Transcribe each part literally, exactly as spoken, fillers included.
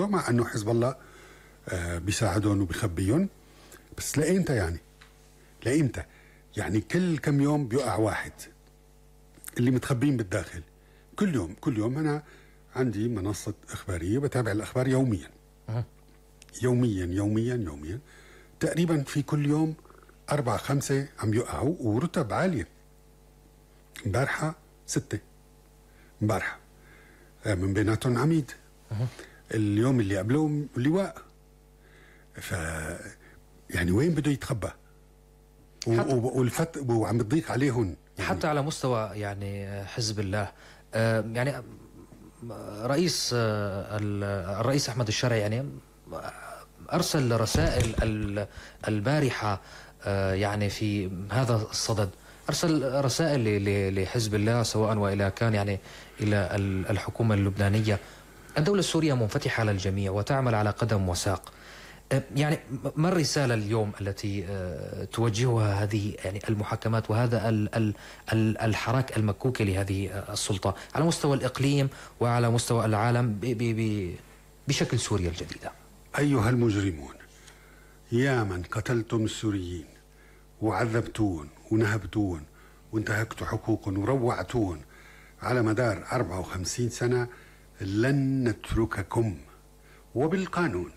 الموضوع، مع أنه حزب الله آه بيساعدهم وبيخبيهم. بس لإمتى يعني؟ لإمتى؟ يعني كل كم يوم بيقع واحد اللي متخبين بالداخل. كل يوم كل يوم أنا عندي منصة إخبارية بتابع الأخبار يوميا يوميا يوميا يوميا تقريبا في كل يوم أربعة خمسة عم يقعوا ورتب عالية. مبارحة ستة، مبارحة من بيناتهم عميد، اليوم اللي قبله لواء. ف يعني وين بده يتخبى؟ والفت وعم بتضيق عليهم يعني حتى على مستوى يعني حزب الله. آه يعني رئيس آه الرئيس أحمد الشرعي يعني أرسل رسائل البارحة آه يعني في هذا الصدد، أرسل رسائل لحزب الله سواء وإلى كان يعني إلى الحكومة اللبنانية. الدولة السورية منفتحة على الجميع وتعمل على قدم وساق. يعني ما الرسالة اليوم التي توجهها هذه يعني المحاكمات وهذا الحراك المكوكي لهذه السلطة على مستوى الإقليم وعلى مستوى العالم بشكل سوريا الجديدة؟ أيها المجرمون، يا من قتلتم السوريين وعذبتون ونهبتون وانتهكتوا حقوقهم وروعتون على مدار أربعة وخمسين سنة، لن نترككم، وبالقانون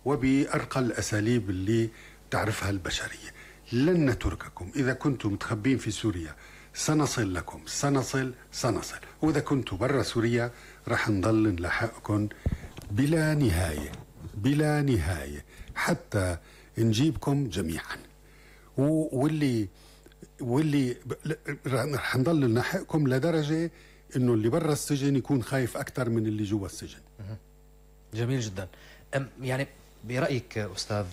وبأرقى الأساليب اللي تعرفها البشرية لن نترككم. إذا كنتم متخبين في سوريا سنصل لكم، سنصل سنصل وإذا كنتم برا سوريا رح نضل نلاحقكم بلا نهاية بلا نهاية حتى نجيبكم جميعا. واللي واللي رح نضل نلاحقكم لدرجة إنه اللي برا السجن يكون خايف أكثر من اللي جوا السجن. جميل جدا. يعني برأيك أستاذ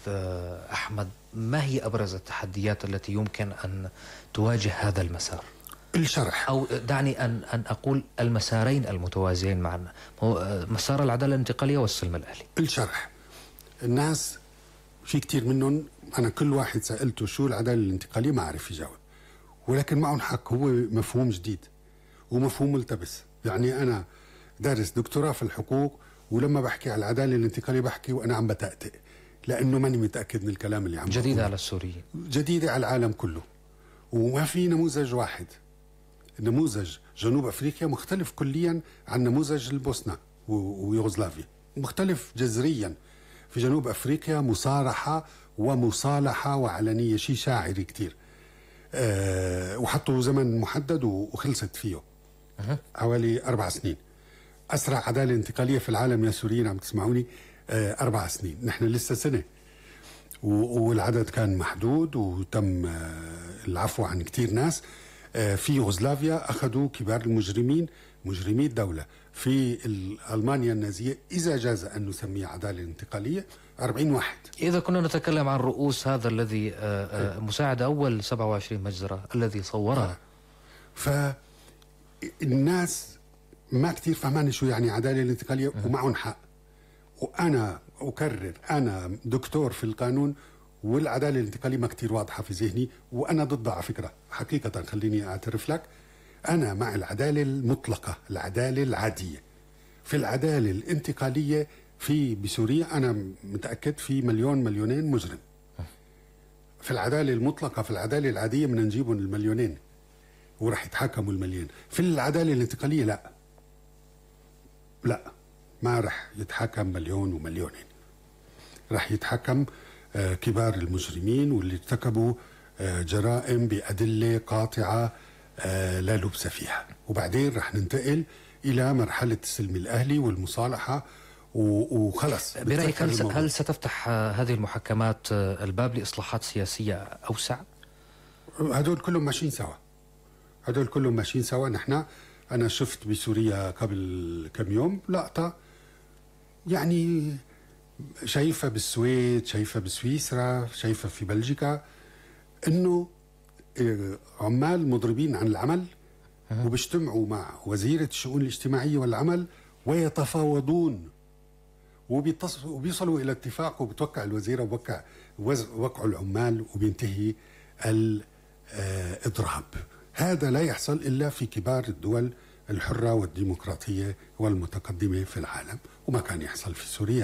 أحمد، ما هي أبرز التحديات التي يمكن أن تواجه هذا المسار؟ الشرح، أو دعني أن أن أقول المسارين المتوازيين معا، مسار العدالة الانتقالية والسلم الأهلي. الشرح، الناس في كتير منهم أنا كل واحد سألته شو العدالة الانتقالية ما عارف يجاوب، ولكن معهم حق، هو مفهوم جديد ومفهوم ملتبس. يعني أنا دارس دكتوراه في الحقوق ولما بحكي على العدالة الانتقالية بحكي وأنا عم بتأتئ لأنه ماني متأكد من الكلام اللي عم بقوله. جديدة على السوريين، جديدة على العالم كله، وما في نموذج واحد. نموذج جنوب أفريقيا مختلف كليا عن نموذج البوسنة ويوغوسلافيا، مختلف جذريا. في جنوب أفريقيا مصارحة ومصالحة وعلنية، شيء شاعري كتير. أه وحطوا زمن محدد وخلصت فيه أه. حوالي أربع سنين. أسرع عدالة انتقالية في العالم يا سوريين عم تسمعوني أه أربع سنين، نحن لسه سنة، والعدد كان محدود وتم أه العفو عن كتير ناس. أه في يوغوسلافيا أخذوا كبار المجرمين، مجرمي الدولة. في ألمانيا النازية إذا جاز أن نسميه عدالة انتقالية أربعين واحد. إذا كنا نتكلم عن رؤوس هذا الذي أه أه مساعد أول سبعة وعشرين مجزرة الذي صورها، فالناس ما كتير فهمان شو يعني عدالة الانتقالية ومعهم حق. وأنا أكرر، أنا دكتور في القانون والعدالة الانتقالية ما كتير واضحة في ذهني، وأنا ضدها على فكرة حقيقة. خليني أعترف لك، أنا مع العدالة المطلقة، العدالة العادية. في العدالة الانتقالية في بسوريا أنا متأكد في مليون مليونين مجرم. في العدالة المطلقة، في العدالة العادية بدنا نجيبهم المليونين ورح يتحكموا المليون. في العدالة الانتقالية لا لا ما رح يتحكم مليون ومليونين، رح يتحكم آه كبار المجرمين واللي ارتكبوا آه جرائم بأدلة قاطعة آه لا لبس فيها. وبعدين رح ننتقل إلى مرحلة السلم الأهلي والمصالحة وخلص. برأيك هل, هل ستفتح هذه المحاكمات الباب لإصلاحات سياسية أوسع؟ هدول كلهم ماشيين سوا، هدول كلهم ماشيين سوا. نحن أنا شفت بسوريا قبل كم يوم لقطة يعني شايفة بالسويد، شايفة بسويسرا، شايفة في بلجيكا، إنه عمال مضربين عن العمل وبيجتمعوا مع وزيرة الشؤون الاجتماعية والعمل ويتفاوضون وبيصلوا إلى اتفاق، وبتوقع الوزيرة وبوقع وقعوا العمال وبينتهي الإضراب. هذا لا يحصل إلا في كبار الدول الحرة والديمقراطية والمتقدمة في العالم، وما كان يحصل في سوريا.